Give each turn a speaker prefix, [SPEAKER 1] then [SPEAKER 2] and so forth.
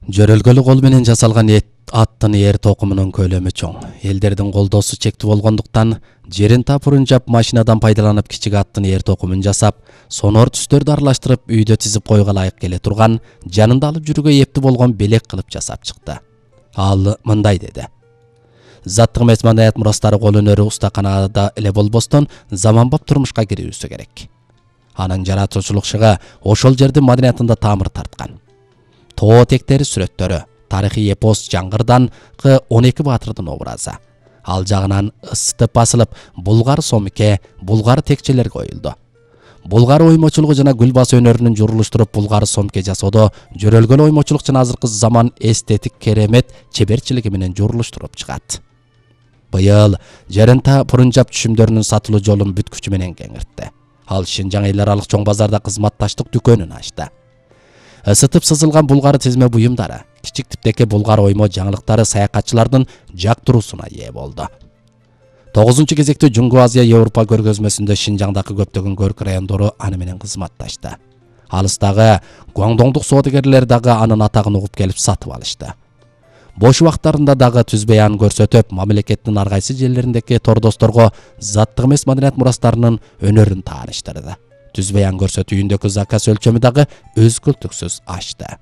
[SPEAKER 1] Жөрөлгөлү кол менен жасалган аттын эр токумунун көлөмү чоң. Элдердин колдоосу чектүү болгондуктан жерин тапырын жап машинадан пайдаланып кичик аттын эр токумун жасап, сонор түстөрдү аралаштырып үйдө тизип койго ылайык келе турган, жанында алып жүрүүгө эптүү болгон белек кылып жасап чыкты. Ал мындай деди: Заттык эмес маданият мурастары кол өнөрү устаканада эле болбостон заманбап турмушка кирүүсү керек. Анын жаратуучулук шыгы ошол жердин маданиятында тамыр тарткан. Тоо тектери сүрөттөрү, тарыхый эпос Жаңгырданкы 12 баатырдын образы. Ал жагынан ысытып басылып, булгар сомке, булгар текчелер коюлду. Булгар оймочулугу жана гүл басы өнөрүнүн журулуштуруп булгар сомке жасоодо жөрөлгөлү оймочулук жана азыркы заман эстетик керемет чеберчилиги менен журулуштуруп чыгат. Быйыл Жарента Пурунжап түшүмдөрүнүн сатылуу жолун бүт күчү менен кеңиртти. Ал Шинжаң эл аралык чоң базарда кызматташтык дүкөнүн ачты. Isıtıp сызылган булгар тизме буюмдары, кичик типтеки булгар оймо жаңылыктары саякатчылардын жактыруусуна ээ болду. 9-чу кезекте Жунгу Азия Европа көргөзмөсүндө Шинжаңдагы көптөгөн көрк райондору аны менен кызматташты. Алыстагы Гуаңдоңдук соодагерлер дагы анын атагын угуп келип сатып алышты. Бош убактарында дагы түз баян көрсөтүп, мамлекеттин ар кайсы жерлериндеги тордосторго заттык эмес маданият мурастарынын өнөрүн тааныштырды. Түз баян көрсөтүү үйүндөгү заказ өлчөмү дагы өзгөлтүксүз ачты.